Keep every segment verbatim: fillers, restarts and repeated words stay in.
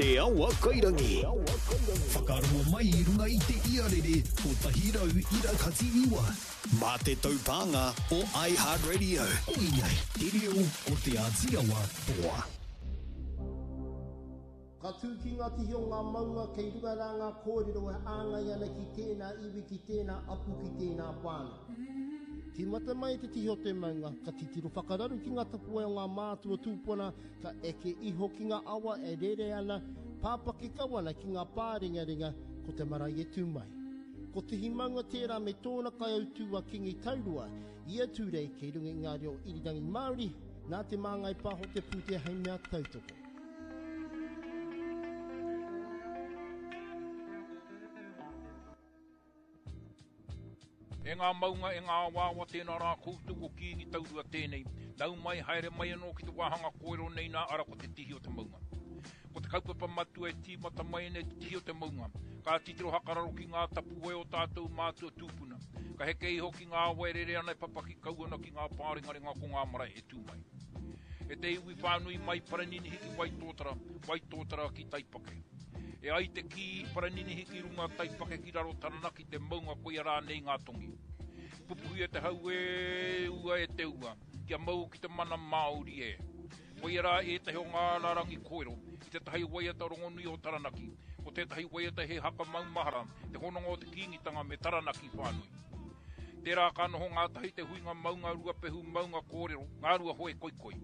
Te Awa Kairangi. Whakarongo mai i runga i te iarere kotahi rau ira kati iwa. Mā te taupānga o iHeartRadio. Koinei te reo o Te Āti Awa toa. Ka tū ki ngā tihi o ngā maunga kei runga rā ngā kōrero e āngai ana ki tēnā iwi, ki tēnā apu, ki tēnā whānau. Tīmata mai te tihi o te maunga, ka titiro whakararu ki ngā tapuwae o ngā mātua tūpuna, ka eke iho ki ngā awa e rere ana, pāpaki kau ana ki ngā pārengarenga, ko te marae e tū mai. Ko Tihi Maunga tērā me tōna kaiautū a Kingi Taurua, ia tūrei kei runga i ngā reo irirangi Māori, nā Te Māngai Pāho te pūtea hei mea tautoko. E ngā maunga, e ngā awaawa, tēnā rā koutou ko Kīngi Taurua tēnei. Nau mai, haere mai anō ki te wāhanga kōrero nei nā ara ko te tihi o te maunga. Ko te kaupapa matua e tīmata mai nei te tihi o te maunga. Ka titiro hakararo ki ngā tapuwae o tātou mātua tūpuna. Ka heke iho ki ngā awa e rere ana e papaki kau ana ki ngā pārengarenga ko ngā marae e tū mai. E te iwi whānui mai Paraninihi ki Waitōtara, Waitōtara ki Taipake. E ai te kī Paraninihi ki runga Taipake ki raro Taranaki te maunga koia rānei ngā tongi. Pupuhi e te hau e ua e te ua, kia mau ki te mana Māori e. Koia rā ētahi o ngā rārangi kōrero i tētahi waiata rongonui o Taranaki, ko tētahi waiata he haka maumahara, te hononga o te Kīngitanga me Taranaki whānui. Tērā ka noho ngātahi te huinga maunga Ruapehu maunga kōrero, ngā rua hoe koikoi.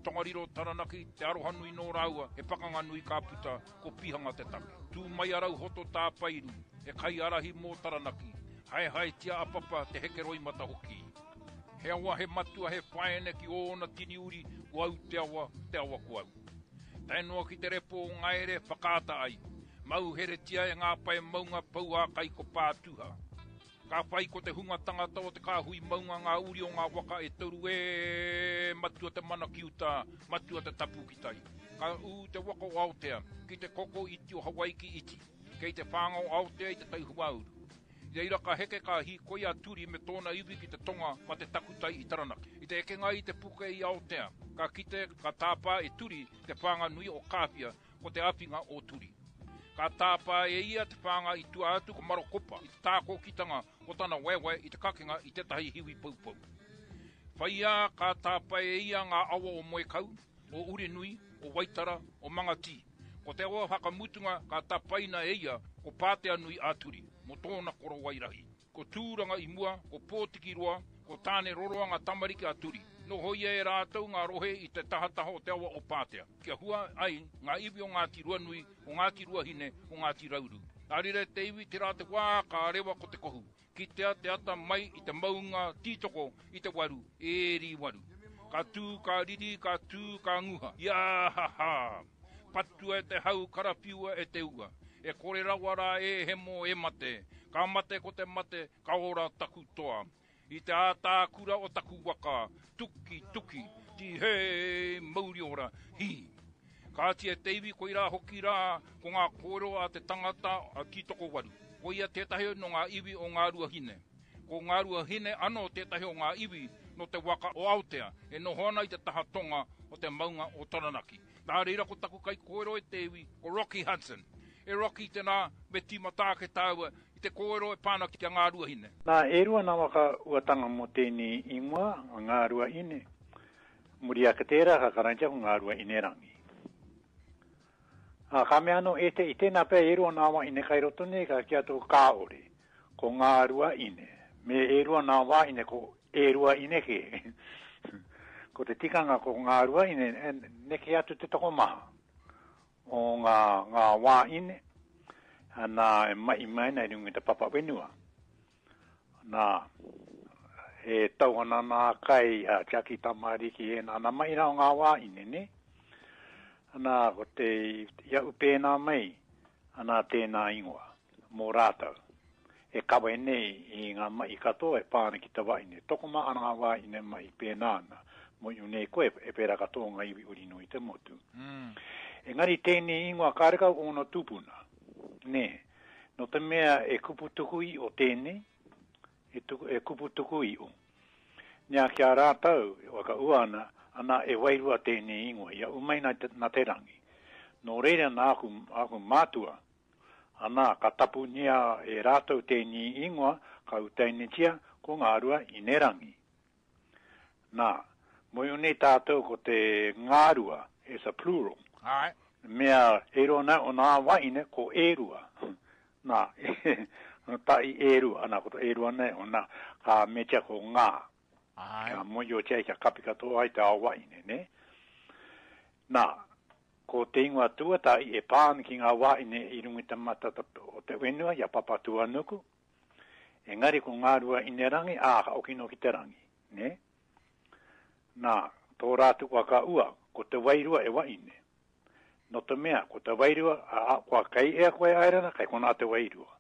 Tongariro Taranaki, te arohanui nō rāua, he pakanga nui ka puta, ko Pihanga te take. Tū mai a Rauhoto Tāpairu, he kaiārahi mō Taranaki, haehaetia a Papa te hekeroimata hoki. He awa, he matua, he whaene ki ōna tini uri, ko au te awa, te awa ko au. Tae noa ki te repo o Ngaere whakaata ai, mauheretia e ngā pae maunga pouākai ko Pātuha. Ka whai ko te hunga tangata o te kāhui maunga ngā uri o ngā waka e toru e matua te mana ki uta, matua te tapu ki tai. Ka ū te waka o Aotea ki te koko iti o Hawaiki iti, kei te whānga o Aotea i te tai huauru. I reira ka heke ka hīkoi a Turi me tōna iwi ki te tonga ma te takutai i Taranaki. I te ekenga i te puke i Aotea, ka kite ka tāpā e Turi te whānga nui o Kāwhia ko te awhinga o Turi. Ka tāpā e ia te whānga i tua atu ko Marokopa i te tākokitanga o tana waewae i te kakenga i tētahi hiwi poupou. Whaiā ka tāpae e ia ngā awa o Moekau, o Urenui, o Waitara, o Mangatī. Ko te awa whakamutunga ka tapaina e ia ko Pāteanui a Turi, mō tōna korowai rahi. Ko Tūranga i mua, ko Pōtikiroa, ko Tāne Roroa ngā tamariki a Turi. Nohoia e rātou ngā rohe i te tahataha o te awa o Pātea, kia hua ai ngā iwi o Ngāti Ruanui, o Ngāti Ruahine, o Ngāti Rauru. Nā reira te iwi tērā te wā ka rewa ko te kohu, kitea te ata mai i te maunga tītoko i te waru, e rī waru. Ka tū, ka riri, ka tū, ka nguha. Ia ha ha! Patua e te hau, karawhiua e te ua. E kore rawa rā e hemo e mate. Ka mate ko te mate, ka ora taku toa. I te ātākura o taku waka, tuki, tuki, tihei, mauri ora, hi. Kāti e te iwi koirā hoki rā, ko ngā kōrero a te tangata a Tītokowaru. Koia tētahi no ngā iwi o Ngā Ruahine. Ko Ngā Ruahine anō tētahi o ngā iwi no te waka o Aotea e noho ana i te taha tonga o te maunga o Taranaki. Nā reira ko taku kaikōrero e te iwi, ko Rocky Hudson. E Rocky tēnā, me tīmata ake tāua i te kōrero e pāna ki a Ngā Ruahine. Nā, e rua nā waka uatanga mō tēnei ingoa, Ngā Ruahine. Muri ake tērā ka karangatia ko Ngā Ruahine rangi. Ā, ka mea anō e te, i tēnā pea e rua nā wahine kai roto nei, ka kī atu kāore, ko Ngā Ruahine. Me e rua nā wāhine, ko e rua ine kē. Ko te tikanga ko Ngā Ruahine, neke atu te tokomaha o ngā, ngā wāhine, nā e mahi mai ana i runga i te papa whenua. Nā, e tau ana nā kai a tiaki tamariki e nā, nā mahi rā o ngā wāhine, ne? Nā, ko te, i au pēnā mai, ana tēnā ingoa, mō rātou. E kawe nei i ngā mahi katoa e pā ana ki te wahine. Tokomaha ana ngā wāhine mahi pēnā ana. Mō iu nei koe, e pērā katoa ngā iwi uri nui te motu. Mm. Engari tēnei ingoa karekau ōna tūpuna. Nē, nō te mea e kupu tuku i o tēnei, e, tuku, e kupu tuku i o. Nea ki a rātou, e whakaua ana, ana e wairua tēnei ingoa, ia umai nā te, nā te rangi. Nō reira nā aku, aku mātua, ana ka tapunia e rātou tēnei ingoa, ka utainitia ko Ngārua Inerangi. Nā, moe nei tātou ko te Ngārua, is a plural. Ai. Mea e rona o nā waine ko e rua. Nā, tai e rua, ana ko te e rua nei, o nā, ka metia ko ngā. Ai. Kia moio tia kia kapi katoa ai te ao waine, ne? Nā, ko te ingoa tuatahi e pā ana ki ngā waine i runga i te mata o te whenua, i a Papatūānuku. Engari ko Ngārua Inerangi, ā, ka okino ki te rangi, ne? Nā, tō rātou waka ua, ko te wairua e waine. No te mea, ko te wairua, a, kua kei ea koe aerana, kei konā te wairua.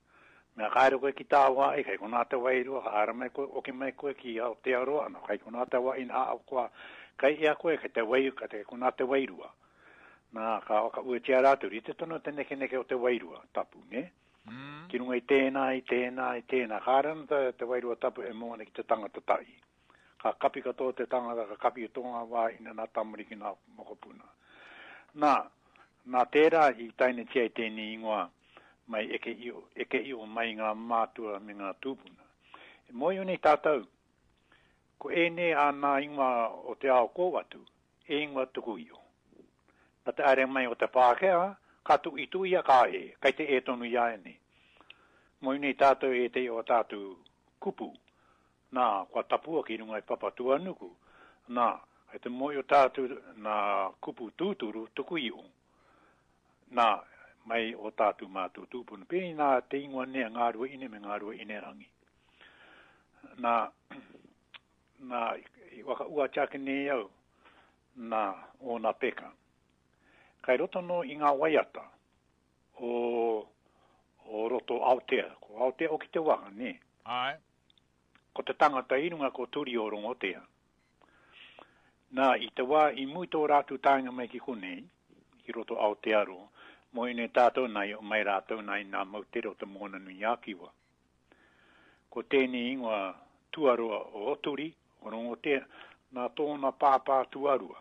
Mea kaere koe ki tāwai, kei konā te wairua, ka haere mai koe, oki mai koe ki Aotearoa, no, kei konā te waine, a, kua kei ea koe, kei te wairua, kei konā te wairua. Nā, ka whakauatia rātou, rite tonu te nekeneke o te wairua tapu, ne? Mm. Ki runga i tēnā, i tēnā, i tēnā. Kāre ana te, te wairua tapu e mō ana ki te tangata tahi. Ka kapi katoa te tangata, ka kapi i tō ngā wā ina nā tamariki nā mokopuna. Nā, nā tērā i tainetia i tēnei ingoa mai eke io, eke io mai ngā mātua me ngā tūpuna. E mōhio nei tātou, ko ēnei a nā ingoa o te ao kōwatu, e ingoa tuku io. Nā te aere mai o te Pākehā, ka tui tuia ka e, kei te e tonu i a nei. Mōhio nei tātou e te o tātou kupu, nā, kua tapua ki runga i Papatūānuku, nā, kei te mōhio tātou nā kupu tūturu tuku io, nā, mai o tātou mātou tūpuna. Pēnei nā te ingoa nei a Ngārua Ine me Ngārua Inerangi. Nā, nā, i whakauatia ake nei au, nā, ōna peka. Kai roto no i ngā waiata o, o roto Aotea. Ko Aotea o ki te waka, ne? Ai. Ko te tangata i runga ko Turi o Rongotea. Nā, i te wā i mui tō rātou taenga mai ki konei, ki roto Aotearoa, mō ine tātou nei, o mai rātou nei nā moutere o te Moana Nui a Kiwa. Ko tēnei ingoa tuarua o Turi, o Rongotea, nā tōna pāpā tuarua.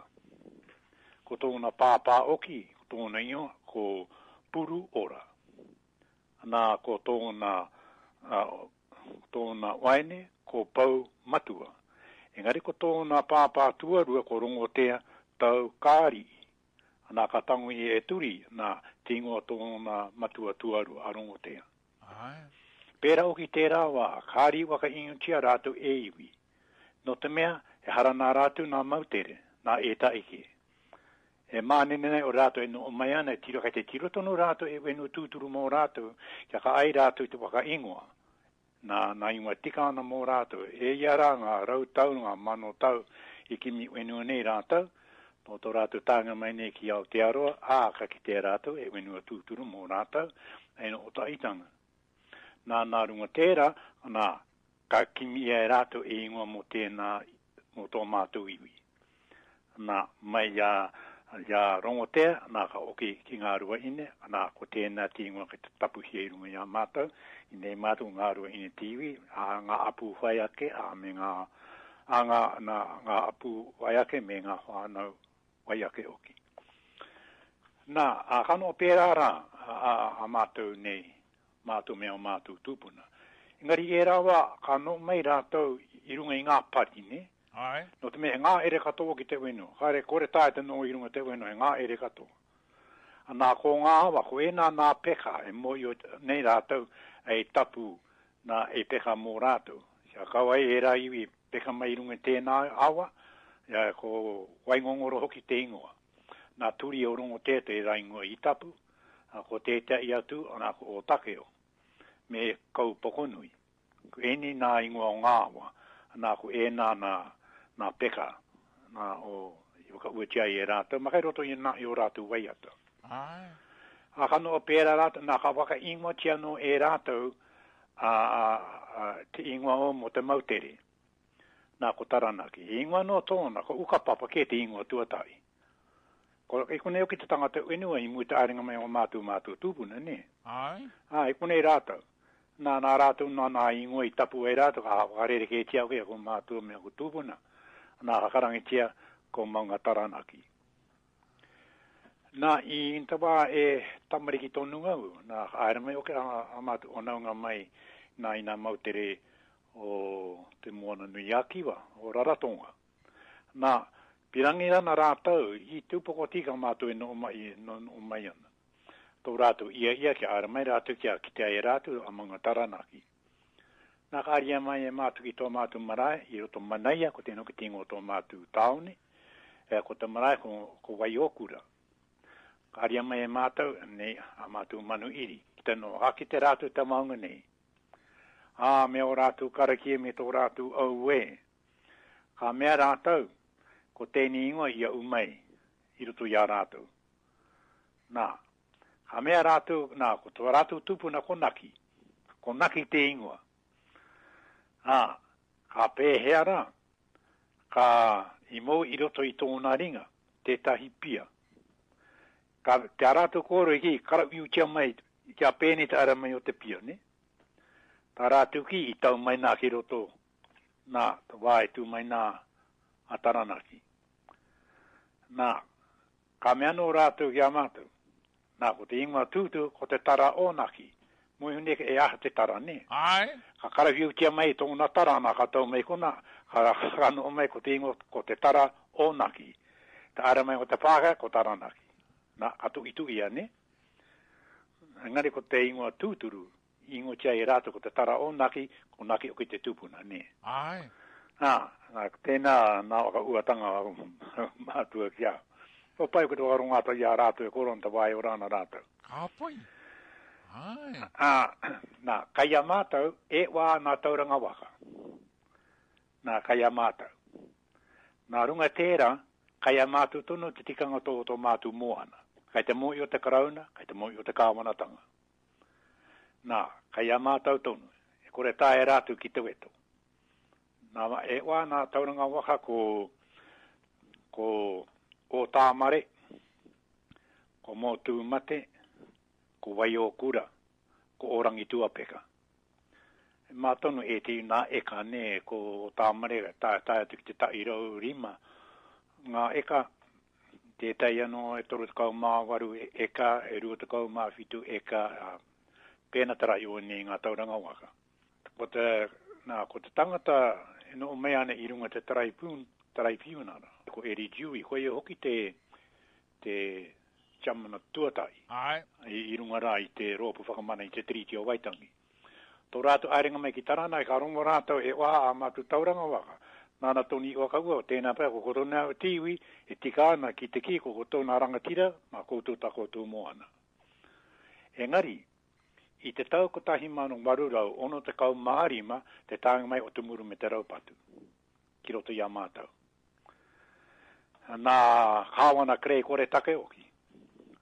Ko tōna pāpā oki, ko tōna ingoa, ko Puru Ora. Nā, ko tōna, uh, tōna waine, ko Pau Matua. Engari ko tōna pāpā tuarua, ko Rongotea Tau Kārii. Nā, ka tango i e Turi, nā, te ingoa tōna matua tuarua, a Rongotea. Ai. Pērā oki tērā wā, kāri waka ingotia rātou e iwi. No te mea, e hara nā rātou nā mautere, nā e taike. E mānene nei o rātou e no mai ana, e tiro, kei te tiro tonu rātou e whenua tūturu mō rātou, kia ka ai rātou te waka ingoa. Nā, nā ingoa tika ana mō rātou. E ia rā ngā rau tau, ngā mano tau i kimi whenua nei rātou, nō tō rātou tānga mai nei ki Aotearoa, ā, ka kitea rātou e whenua tūturu mō rātou, e no o taitanga. Nā, nā runga tērā, nā, ka kimi ia e rātou e ingoa mō tēnā, mō tō mātou iwi. Nā, mai ia, ia Rongotea, nā ka oki ki Ngārua Ine, nā ko tēnā te ingoa ki te tapuhia i runga i a mātou, i nei mātou Ngārua Ine te iwi, a ngā apu whai ake, a me ngā, a ngā, nā, ngā apu whai ake me ngā whānau whai ake oki. Nā, a kano pērā rā, a, a, a mātou nei, mātou me o mātou tūpuna. Engari e rā wā, ka no mai rātou i runga i ngā pari, ne? Ai. No te mea, he ngā ere katoa ki te whenua. Kāre kore tae te no i runga te whenua, he ngā ere katoa. Nā ko ngā awa, ko ēnā nā peka e mōhio nei rātou e tapu nā e peka mō rātou. Kia kaua e rā iwi peka mai i runga tēnā awa, ia, ko Waingongoro hoki te ingoa. Nā Turi o Rongotea te rā ingoa i tapu, a ko tētahi atu, nā ko Ōtakeo, me Kaupokonui. Ko ēnei nā ingoa o ngā awa, nā ko ēnā nā, nā peka, nā o i whakauatia ai e rātou, ma kai roto i nā i o rātou waiata. Ai. A ka noa pērā rātou, nā ka whakaingoatia no e rātou a, a, a, te ingoa o mō te moutere. Nā ko Taranaki. He ingoa no tōna, ko Ukapapa kē te ingoa tuatahi. Ko i konei hoki te tangata whenua i mua te aerenga mai o mātou mātou tūpuna, ne? Ai. Ā, i konei rātou. Nā, nā rātou, nā, nā ingoa i tapu ai rātou, ka whakarerekētia hoki ko mātou me ko tūpuna. Nā, ka karangitia ko Maunga Taranaki. Nā, i te wā e tamariki tonu au, nā, haere mai oke a, a mātou whanaunga mai nā i nā moutere o te Moana Nui a Kiwa, o Rarotonga. Nā, pirangi rana rātou i te upoko tika mātou e noho mai, no, noho mai ana. Tō rātou ia ia kia haere mai rātou kia kitea e rātou a Maunga Taranaki. Nā, ka aria mai e mātou ki tō mātou marae, i roto Manaia, ko tēnā hoki te ingoa o tō mātou tāone, e, ko te marae ko, ko Waiokura. Ka aria mai e mātou, nei, a mātou manu iri, ki te noho, ka kite rātou te maunga nei. Ā, me ō rātou karakia me tō rātou auē. Ka mea rātou, ko tēnei ingoa i au mai, i roto i a rātou. Nā, ka mea rātou, nā, ko tō rātou tupuna ko Naki. Ko Naki te ingoa. Ā, ka pēhea rā, ka i mau i roto i tōna ringa, tētahi pia. Ka, te a rātou kōrero i kī, karauiutia mai, kia pēnei te ara mai o te pia, ne? Tā rātou ki, i tau mai nā ki roto, nā, te wā e tū mai nā a Taranaki. Nā, ka mea anō rātou ki a mātou. Nā, ko te ingoa tūtū, ko te tara o Naki. Moe hune e aha te tara, ne? Ai. Ka karawhiutia mai tōna tara, nā, ka tau mai kona, ka, ka noho mai ko te ingoa, ko te tara o Naki. Te ara mai o te Pākehā, ko Taranaki. Nā, ka tuituia, ne? Engari ko te ingoa tūturu, i ingoatia e rātou ko te tara o Naki, ko Naki hoki te tupuna, ne? Ai. Nā, nā, tēnā nā whakauatanga mātua ki a. Ko pai ko te whakarongo atu i a rātou e koro ana te wā e ora ana rātou. Ka pai. Ai. Ā, nā, kai a mātou, e wā nā tauranga waka. Nā, kai a mātou. Nā runga tērā, kai a mātou tonu te tikanga tō tō mātou moana. Kai te mōhio te Karauna, kai te mōhio te kāwanatanga. Nā, kai a mātou tonu, e kore taea rātou ki te weto. Nā, e wā nā tauranga waka ko, ko Ōtāmare, ko Mōtūmate, ko Waiokura, ko Ōrangituapeka. Mā tonu e te nā eka, nē, ko Ōtāmare, tae, tae atu ki te tahi rau rima, ngā eka, tētahi anō e toru tekau mā waru eka, e rua tekau mā whitu eka, ā, pēnā te rahi o nei ngā tauranga waka. Ko te, nā, ko te tangata e noho mai ana i runga te taraipiun, taraipiunara, ko Eri Dewey, ko ia hoki te, te chamana tuatahi. Ai. I, i runga rā i te rōpū whakamana i te Tiriti o Waitangi. Tō rātou haerenga mai ki Taranaki, ka rongo rātou e wā a mātou tauranga waka. Nāna tonu i whakaua, tēnā pea ko koutou nā te iwi, e tika ana ki te kī ko koutou nā rangatira, mā koutou tā koutou moana. Engari, i te tau kotahi mano waru rau ono tekau mā rima te taenga mai o te muru me te raupatu ki roto i a mātou. Nā Kāwana Kerei kore take hoki,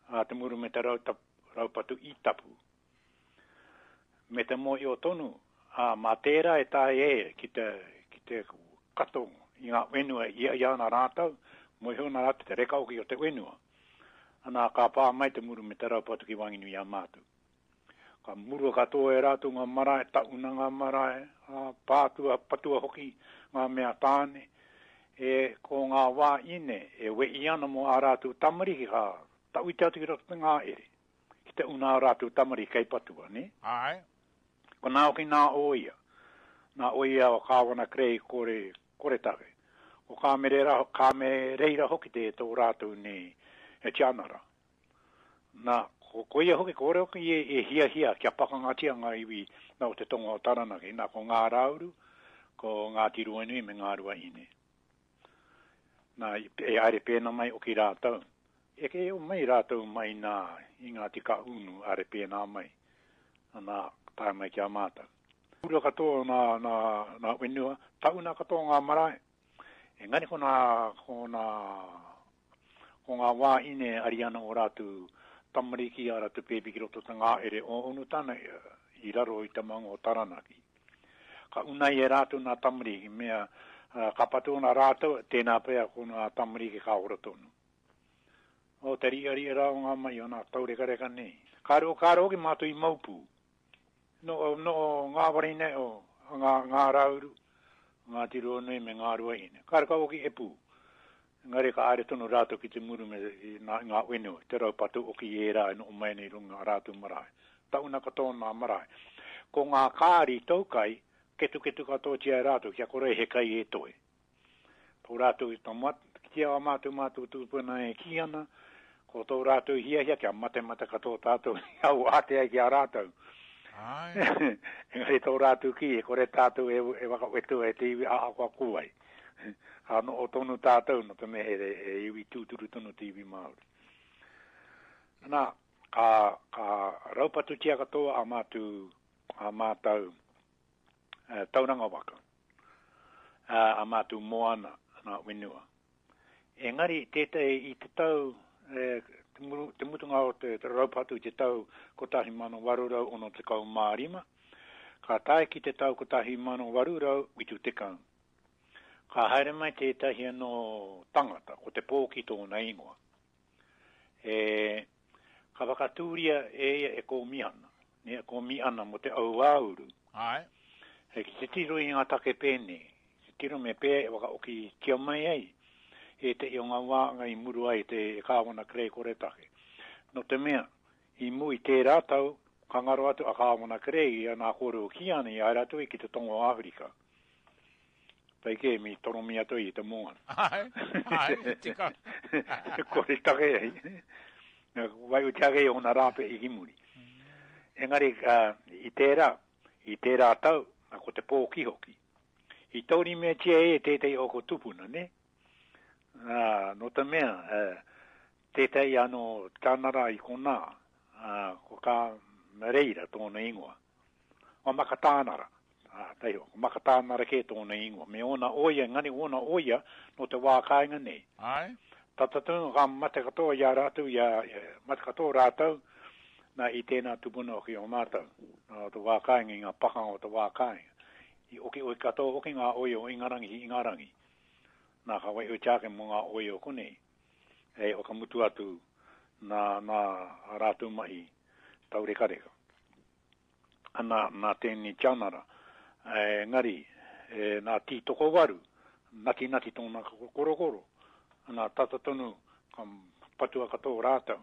a te muru me te raupatu i tapu. Me te mōhio tonu, a mā tērā e tae e ki te, ki te kato i ngā whenua i ia ana rātou, mōhio ana rātou te reka hoki o te whenua. Ana ka pā mai te muru me te raupatu ki waenganui i a mātou. Ka murua katoa e rātou ngā marae, tauna ngā marae, a, pātua, patua hoki ngā mea tāne. E, ko ngā wā ine, e wei ana mō ā rātou tamariki, ka tauite atu ki roto te ngā ere. Ki te una ā rātou tamariki kei patua, ne? Ai. Ko nā hoki nā oia. Nā oia o Kāwana Kerei kore, kore take. Ko Kāmerera, Kāmereira hoki te tō rātou nei e tianara. Nā, ko, ko ia hoki, kore hoki e, e hiahia kia pakangatia ngā iwi nā o te tonga o Taranaki. Nā, ko Ngā Rauru, ko Ngāti Ruanui me Ngā Ruahine. Nā, e haere pēnā mai hoki rātou. E ke o mai rātou mai nā i Ngāti Kahungunu haere pēnā mai. Nā, tae mai ki a mātou. Pura katoa nā, nā, nā whenua, tauna katoa ngā marae. Engari ko nā, ko nā, ko ngā wāhine ari ana o rātou tamariki a rātou pēpi ki roto te ngā ere o Onutana i raro i te maunga o Taranaki. Ka unai e rātou nā tamariki, mea ka patu ana rātou, tēnā pea ko nā tamariki ka ora tonu. O te ria ria rā o ngā mai o nā taurekareka nei. Kāre o kāre hoki mātou i maupū. No, no ngā warine o ngā, ngā rauru, ngā tiroa nui me ngā ruahine. Kāre ka hoki e pū. Engari ka haere tonu rātou ki te muru me i nā, ngā whenua, te raupatu oki i ērā e noho mai nei i runga ngā rātou marae. Tauna katoa ngā marae. Ko ngā kāri taukai, ketuketu katoatia e rātou kia kore he kai e toe. Tō rātou i tama, ki a mātou mātou tūpuna e kī ana, ko tō rātou hiahia kia matemate katoa tātou i au ātea ki a rātou. Ai. Engari tō rātou ki, e kore tātou e, e whakawetu e te iwi ahakoa ko wai. Ka noho tonu tātou, no te mea he, he iwi tūturu tonu te iwi Māori. Nā, ka, ka raupatutia katoa a mātou, a mātou eh, tauranga waka, a, a mātou moana, nā whenua. Engari tētahi i te tau, eh, te, muru, te mutunga o te, te raupatu i te tau kotahi mano waru rau ono tekau mā rima, ka tae ki te tau kotahi mano waru rau whitu tekau. Ka haere mai tētahi anō tangata, ko te Pōki tōna ingoa. E, ka whakatūria e ia e kōmihana, ne, kōmihana mo te auāuru. Ai. E ki te tiro i ngā take pēnei, te tiro me pē e whakaoki kia mai ai, e te i o ngā wāanga i muru ai te kāwana Kerei kore take. No te mea, i mu i tērā tau, ka ngaro atu a kāwana Kerei i a nā kōrero ki ana i haere atu i ki te tonga o Āwherika. Pai kē, mi toromi atu i te moana. Ai, ai, tika. Kore take ai. Wai o te ake o nā rāpe i ki muri. Engari, uh, i tērā, i tērā tau, ko te Pōki hoki. I tauri meatia e tētahi o ko tupuna, ne? Uh, no te mea, uh, tētahi anō tānara i konā, uh, ko kā Mereira tōna ingoa. O Makatānara. Ah, taiho, ko Makatānara kē tōna ingoa. Me ōna oia, engari ōna oia no te wā kāinga nei. Ai. Tata tonu ka mate katoa i a rātou, i a, mate katoa rātou, nā i tēnā tupuna hoki o mātou. Nā te wā kāinga, i ngā pakanga o te wā kāinga. I oki oi katoa hoki ngā oia o Ingarangi ki Ingarangi. Nā ka wai oi ake mō ngā oia o konei. Hei whakamutu atu nā, nā rātou mahi taurekareka. Ana, nā tēnei tianara, engari, e, nā Tītokowaru, nati nati tōna korokoro, nā tata tonu ka patua katoa rātou.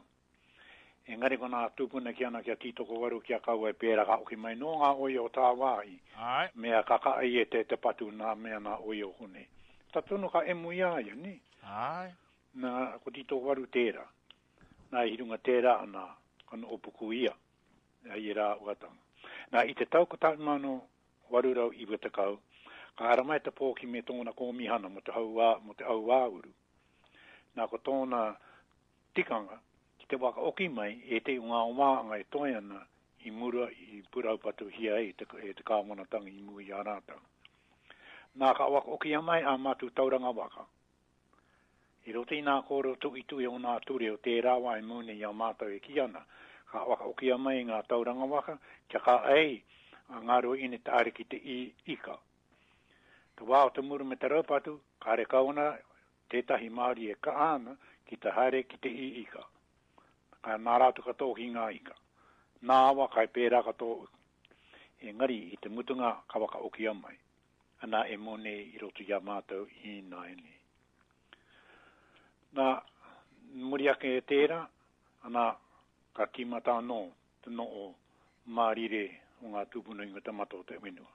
Engari ko nā tūpuna ki ana kia Tītokowaru kia kaua e pērā ka oki mai nō ngā oia o tāwāhi. Ai. Mea ka ka ai e te, te patu nā mea nā oia o konei. Tata tonu ka emu i a ia, ni? Ai. Nā, ko Tītokowaru tērā. Nā i runga tērā, nā, ka noho puku ia, ai e rā uatanga. Nā, i te tau kotahi mano waru rau iwa tekau, ka haere mai te Pōki me tōna kōmihana mo te hauā, mo te auāuru. Nā, ko tōna tikanga, ki te whakaoki mai e te ngā wāanga e toe ana i mura i puraupatuhia ai te, e te kāwanatanga i mua i a rātou. Nā, ka whakaokia mai a mātou tauranga waka. I roto i nā kōrero tuitui o nā ture o tērā wā e mūne i a mātou e ki ana, ka whakaokia mai ngā tauranga waka kia ka ai a ngā rua ine te are ki te i ika. Te wā o te muru me te raupatu, kāre kau ana tētahi Māori e ka ana ki te haere ki te i ika. Ka nā rātou katoa ki ngā ika. Nā awa kai pērā katoa. Engari i te mutunga ka whakaokia mai. Ana e mōne i roto i a mātou i nāianei. Nā, muri ake e tērā, ana ka tīmata anō te noho mārire o ngā tūpuna i ngā tamata o te whenua.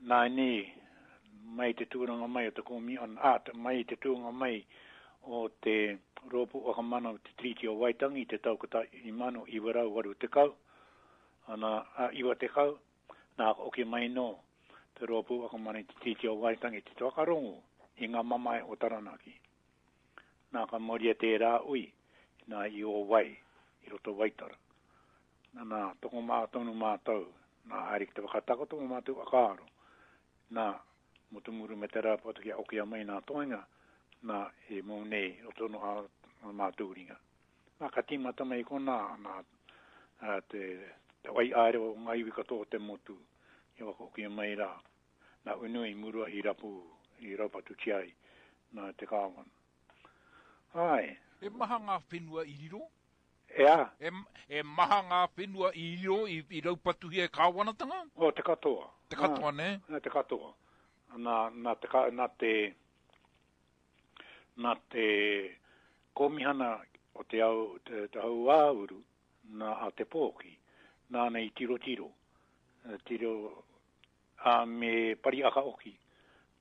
Nā nei, mai te tūranga mai o te kōmihana, ā, mai te tūranga mai o te rōpū whakamana o te Tiriti o Waitangi i te tau kotahi mano iwa rau waru tekau, ana, a, iwa tekau, nā ka oki mai nō te rōpū whakamana i te Tiriti o Waitangi te whakarongo i ngā mamae o Taranaki. Nā ka mauria tērā ui, nā i o wai, i roto Waitara. Nā, nā, tokomā tonu mātou, nā haere ki te whakatakoto o mātou whakaaro. Nā, mo te muru me te rāpatu kia okia mai nā toenga, nā e mō nei o tono a, a mātou ringa. Nā ka tīmata mai konā, nā a, te, te wai aere o ngā iwi katoa o te motu, i whakaokia mai rā. Nā unu i murua i rapu, i raupatu tiai, nā te kāwana. Ai. E maha ngā whenua i riro? Ea. E, e maha ngā whenua i riro i, i raupatuhia e kāwanatanga? O, te katoa. Te katoa, ne? Nā, te katoa. Nā, nā te, ka, nā te, Nā te kōmihana o te au, te, te hauāuru, nā a Te Pōki, nāna i tirotiro, tiro, a me Pariaka oki,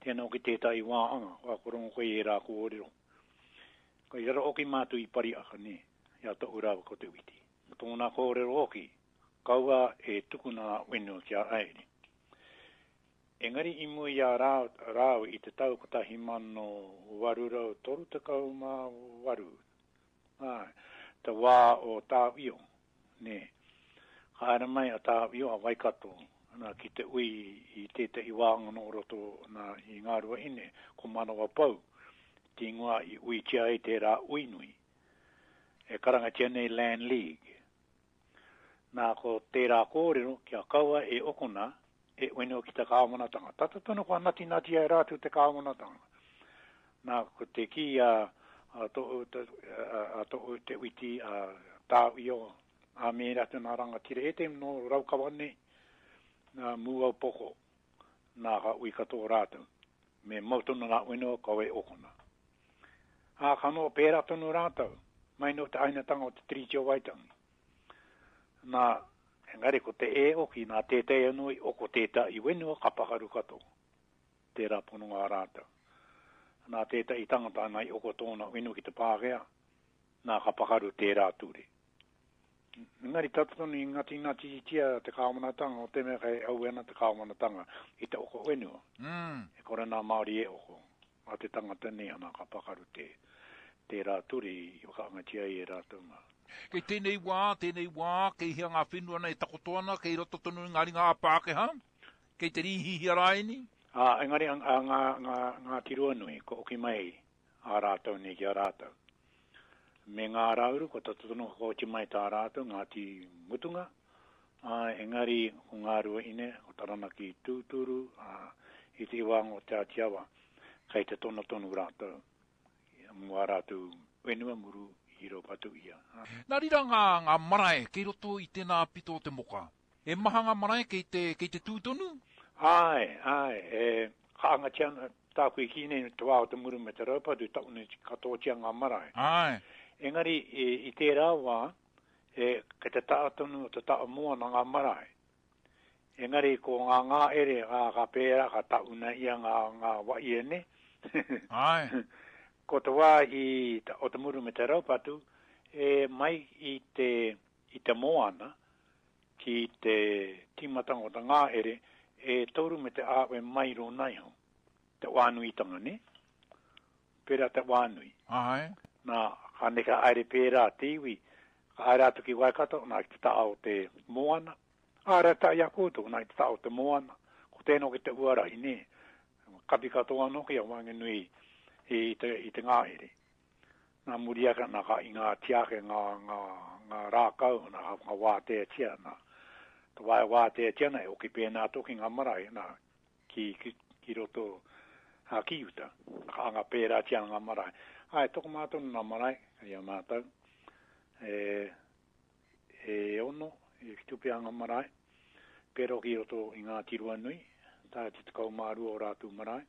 tēnā oki tētahi wāhanga, kua korongo koe i ērā kōrero. Ko i raro oki mātou i Pariaka, nē, i a toʻu rāua ko Te Witi. Ko tōna kōrero oki, kaua e tukuna whenua ki a Aere. Engari i mua i a rāua i te tau kotahi mano waru rau toru tekau mā waru, āe, te wā o Tāwhio, nē. Ka haere mai a Tāwhio, a Waikato, nā, ki te ui i tētahi wāhanga nō roto nā, i Ngāruahine, ko Manawapou, te ingoa i uitia ai tērā ui nui, e karangatia nei Land League. Nā, ko tērā kōrero kia kaua e okona e whenua ki te kāwanatanga. Tata tonu kua natinatia e rātou te kāwanatanga. Nā, ko te kī a, a toʻu, a, a toʻu Te Witi, a Tāwhio, a me rātou nā rangatira, e te nō Raukawa nei, nā Mūaupoko, nā ka ui katoa rātou. Me mau tonu nā whenua, kaua e okona. Ā, ka noho pērā tonu rātou, mai nō te hainatanga o te Tiriti o Waitangi. Nā, engari ko te e oki, nā tētahi anō i oko tētahi whenua ka pakaru katoa. Tērā pononga a rātou. Nā tētahi tangata nā i oko tōna whenua ki te Pākehā, nā ka pakaru tērā ture. Engari tata tonu i ngatingatitia te kāwanatanga o te mea kei aue ana te kāwanatanga i te oko whenua. Mm. E kore nā Māori e oko. Nā te tangata nei ana ka pakaru te, tērā ture i whakaangatia ai e rātou mā. Kei tēnei wā, tēnei wā, kei hea ngā whenua nei e takoto ana, kei roto tonu i ngā ringa a Pākehā, kei te rīhihia rāini? Ā, engari a, a, ngā, ngā, ngā Tiruanui, ko oki mai a rātou nei ki a rātou. Me ngā rauru, ko tata tonu whakaoti mai tā rātou, Ngāti Mutunga, ā, engari ko ngā Ruahine, ko Taranaki tūturu, ā, i te iwānga o Te Āti Awa, kei te tono tonu rātou, mō ā rātou whenua muru i raupatu ia. Nā rira ngā, ngā marae kei roto i tēnā pito o te moka. E maha ngā marae kei te, kei te tū tonu? Āe, āe, e ka angatia ana tāku i kī nei te wā o te muru me te raupatu, taunu katoatia ngā marae. Āe. Engari i, i tērā wā, e, kei te taha tonu o te taha moana ngā marae. Engari ko ngā ngāere, ngā ka pērā, ka tauna ia ngā, ngā waie, ne? Āe. Ko te wā i, o te muru me te raupatu, e mai i te, i te moana ki te tīmatanga o te ngāere, e toru me te āwe mairo naiho. Te wānuitanga, ne? Pērā te wānui. Āe. Nā, ka neka aere pērā te iwi, ka haere atu ki Waikato, nā, ki te taha o te moana. Āre tā i a koutou, nā, ki te taha o te moana. Ko tēnō ki te uarahi, ne? Kapi katoa anō ki a Wanganui i te, i te ngāhere. Nā muri ake, nā ka i ngā tiake, ngā, ngā, ngā rākau, nā ngā wāteatia, nā te wae wāteatia nei, oki pēnā toki ngā marae, nā, ki, ki, ki roto a ki uta. Ka anga pērātia ngā marae. Ai, toko mātou nā marae, i a mātou, e, e ono, e whitu pea ngā marae, pēro ki roto i ngā tirua nui, tā te tekau mā rua o rātou marae.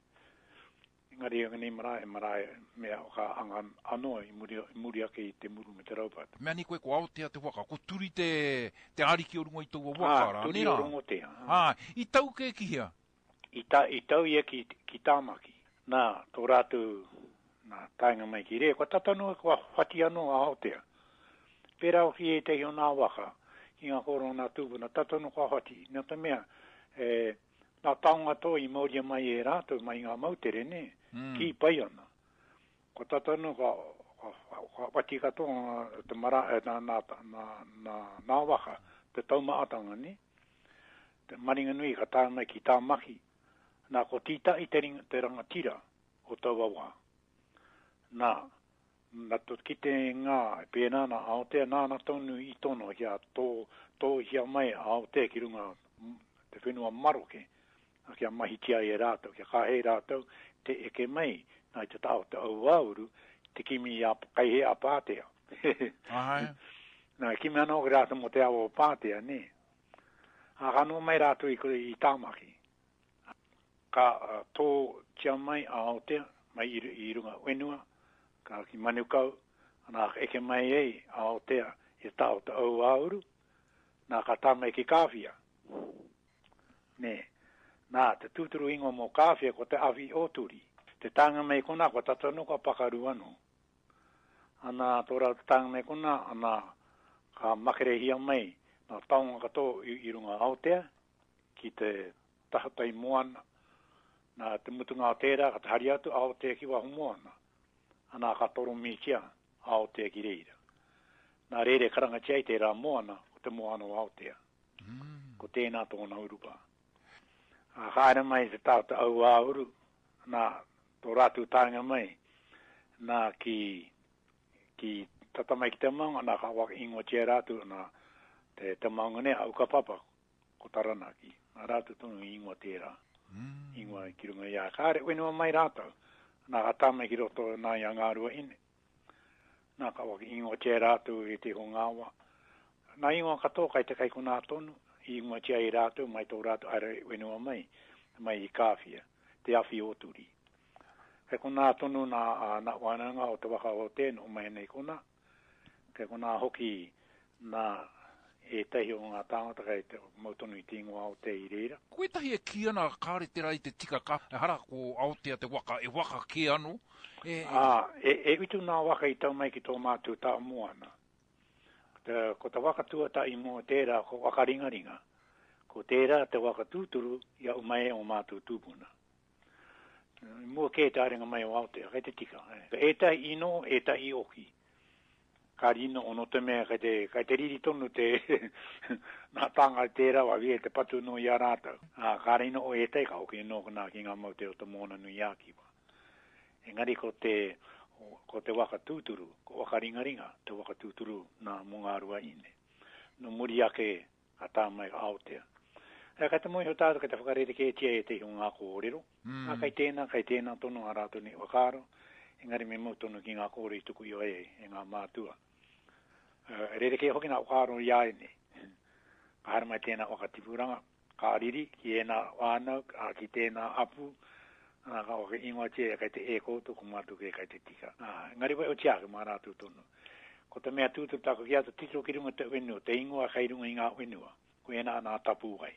Engari e nei marae, e marae mea ka anga anō i muri, i muri ake i te muru me te raupatu. Mea ni koe ko Aotea te waka, ko Turi te, te ariki o runga i taua waka, Ah, rā, Turi nē rā? o Rongotea. Ah, i tau kē ki hea? I, ta, i tau ia ki, ki Tāmaki. Nā, tō rātou, nā, taenga mai ki re, kua tata noa, kua whati anō a Aotea. Pērā hoki ētahi o nā waka, ki ngā kōrero nā tūpuna, tata noa kua whati. Nā te mea, e, nā taonga tō i mauria mai e rātou, mai ngā moutere, nē, Mm. ki pai ana. Ko tata noa, kua, kua, kua whati katoa ngā, te mara, eh, nā, nā, nā, nā, nā waka, te taumaatanga, nē. Te maringa nui ka tae mai ki Tāmaki. Nā, ko Tītahi te, ringa, te rangatira o taua wā. Nā, nā tō kite ngā, e pēnā nā Aotea, nāna tonu i tono kia tō, tōhia mai a Aotea ki runga te whenua maroke, nā, kia mahitia e rātou, kia kāhei rātou te eke mai, nā i te taha o te auauru, te kimi a kaihe a Pātea. Āe. Nā, kimi anō ki rātou mō te awa o Pātea, nē. Ā, ka noho mai rātou i, i Tāmaki. Ka uh, tō tia mai a Aotea, mai i, i runga whenua, Ka ki Manukau, ana ka eke mai ei a Aotea i tao te au āuru, nā ka tā mai ki Kāwhia. Nē, nā, te tūturu ingoa mō Kāwhia ko te awhi o Turi. Te tānga mai konā, kua tata anō kua pakaru anō. Ana, tō rātou tānga mai konā, ana, ka makerehia mai nā taonga katoa i, i runga Aotea, ki te tahatai moana. Nā, te mutunga o tērā, ka hari atu Aotea ki waho moana. Ana, ka toromitia Aotea ki reira. Nā reira e karangatia ai tērā moana, ko te moana o Aotea. Mm. Ko tēnā tōna urupā. A, ka haere mai te tāta au āuru, nā, tō rātou tānga mai, nā ki, ki tata mai ki te maunga, nā ka waka ingoatia rātou, nā te, te maunga nei, a Ukapapa, ko Taranaki. Nā rātou tonu i ingoa tērā. Mm. Ingoa ki runga i a kāre, whenua mai rātou. Nā ka tā mai ki roto nā i a Ngāruahine. Nā ka waka ingoatia rātou e te hongawa. Nā ingoa katoa kai te kai konā tonu, i ingoatia i rātou mai tō rātou haere whenua mai, mai i Kāwhia, te awhi o Turi. Kai konā tonu nā, a, nā wānanga o te waka o tēnu o mai nei konā. Kai konā hoki nā ētahi o ngā tāngata kai te mau tonu i te ingoa Aotea i reira. Ko ētahi e kī ana kāre tērā i te tika ka, ehara ko Aotea te waka, e waka kē anō. E, e, Ā, e, e utu nā waka i tau mai ki tō mātou tā moana. Te, ko te waka tuatahi mō tērā ko Wakaringaringa. Ko tērā te waka tūturu i au mai o mātou tūpuna. I mua kē te haerenga mai o Aotea, kai te tika. E. Ētahi ino, ētahi oki. Ka rino ono te mea, kai te, kai te riri tonu te nā tānga i tērā wā, e te patu no i a rātou. Ā, ka rino o ētahi, ka hoki no nā ki ngā moutere o te Moana nui a Kiwa. Engari ko te, ko te waka tūturu, ko Wakaringaringa, te waka tūturu nā mō Ngāruahine. No muri ake ka tā mai Aotea. E, kai te mōhio tātou kai te whakarerekētia e te o ngā kōrero. mm. Ā, kai tēnā, kai tēnā tonu a rātou nei whakaaro. Engari me mau tonu ki ngā kōrero i tuku i ai e ngā mātua. Uh, rerekē hoki ngā whakaaro i a nei. Ka haere mai tēnā whakatipuranga, ka riri ki ēnā whānau, ā, ki tēnā apu, ā, ka waka ingoatia kai te e koutou, ko mātou kē kai te tika. Ā, engari wai o ake mā rātou tonu. Ko te mea tūturu tāku ki atu titiro ki runga te whenua, te ingoa kai runga i ngā whenua, ko ēnā nā tapu wai.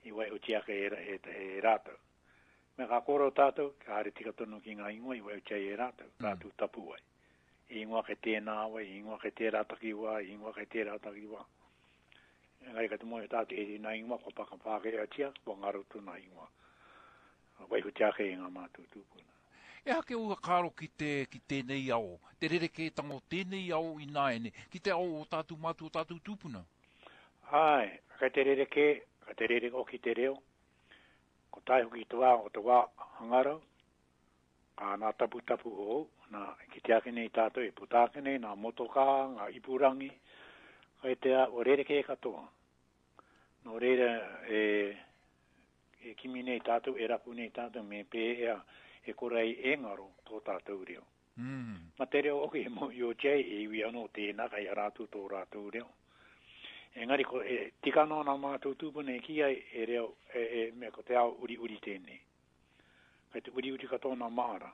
I wai o ake e, e, e, e rātou. Me ka kōrero tātou, ka haere tika tonu ki ngā ingoa i wai o e rātou, rātou tapu wai. I ingoa kei tēnā wai, i ingoa kei tērā takiwā, i ingoa kei tērā takiwā. Engari ka te mōhio tātou e nā ingoa, kua pakapākehātia, kua ngaro tōna ingoa. Waihotia ake e ngā mātou tūpuna. E hake o whakaaro ki te, ki tēnei ao, te rerekētanga o tēnei ao i nāiane, ki te ao o tātou mātua o tātou tūpuna. Ai, kai te rerekē, kai te rere hoki te reo. Ko tae hoki te wā o te wā hangarau, ka nā taputapu hou, nā ki te ake nei tātou e puta ake nei, nā motokā, ngā ipurangi, kai te a, o rerekē katoa. Nō reira e, e kimi nei tātou, e rapu nei tātou, me pēhea e kore ai e ngaro tō tātou reo. Mm. Ma te reo hoki e mōhiotia ai e iwi anō tēnā kai a rātou tō rātou reo. Engari ko e, tika anō nā mātou tūpuna e ki ai e reo, e, e mea ko te ao uri uri tēnei. Kai te uri uri katoa nā māra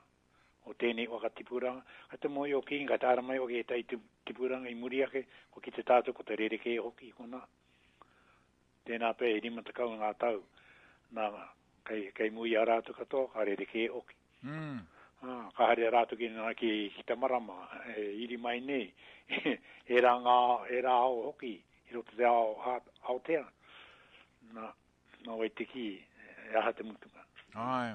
o tēnei whakatipuranga. Kai te mōhio ki, kai te ara mai hoki e tai tipuranga i muri ake, ko ki te tātou ko te rerekē hoki kona. Tēnā pē e rima tekau ngā tau, nā, kai, kai mui a rātou katoa, ka rerekē hoki. Mm. Ah, ka haere rātou ki, ki, ki te marama, e, iri mai nei, e rā ngā, e rā ao hoki, i roto te ao Aotea. Nā, nā wai te ki, e aha te mutunga. Ai.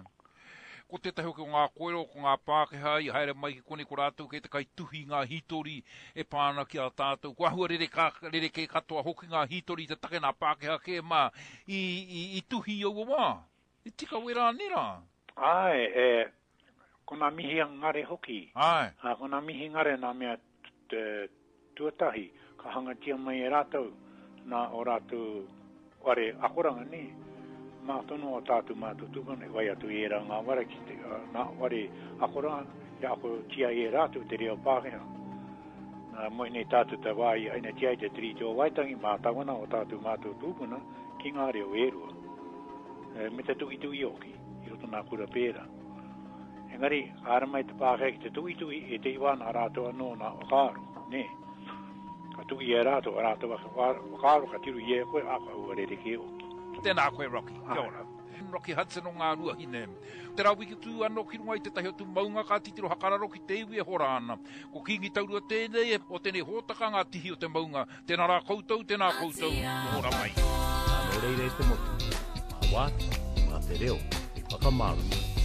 Ko tētahi hoki o ngā kōrero, ko ngā Pākehā i haere mai ki konei ko rātou kei te kaituhi ngā hītori e pā ana ki a tātou. Ko āhua rereka, rerekē katoa hoki ngā hītori te take nā Pākehā kē mā i, i, i tuhi i aua wā. I tika wera nē rā? Ai, e, ko nā mihi ngare hoki. Ai. Ā, ko nā mihi ngare nā mea te, tuatahi, ka hangatia mai e rātou, nā o rātou ware akoranga nei. Mā tonu o tātou mātou tūpuna, e wai atu i e rā ngā ware ki te, uh, nā ware akoranga, kia akotia e rātou te reo Pākehā. Nā moe nei tātou te wā i hainatia ai te Tiriti o Waitangi, mā tawana o tātou mātou tūpuna ki ngā reo e rua. E, me te tuhituhi hoki, i roto nā kura pērā. Engari, ka haere mai te Pākehā ki te tuitui e te iwa nā rātou anō nā whakaaro, nē. Ka tuhi e rātou a rātou ake whakaaro, ka tirohia e koe, ā, ka ua rerekē hoki. Tēnā koe Rocky, kia ora. Rocky Hudson o Ngāruahine. Te rā wiki tū anō ki runga i tētahi atu maunga ka titiro hakararo ki te iwi e hora ana. Ko Kīngi Taurua tēnei o tēnei hōtaka ngā tihi o te maunga. Tēnā rā koutou, tēnā koutou, hora mai. Nā, nō reira e te motu, mā Wāti, mā te reo, e whakamārama.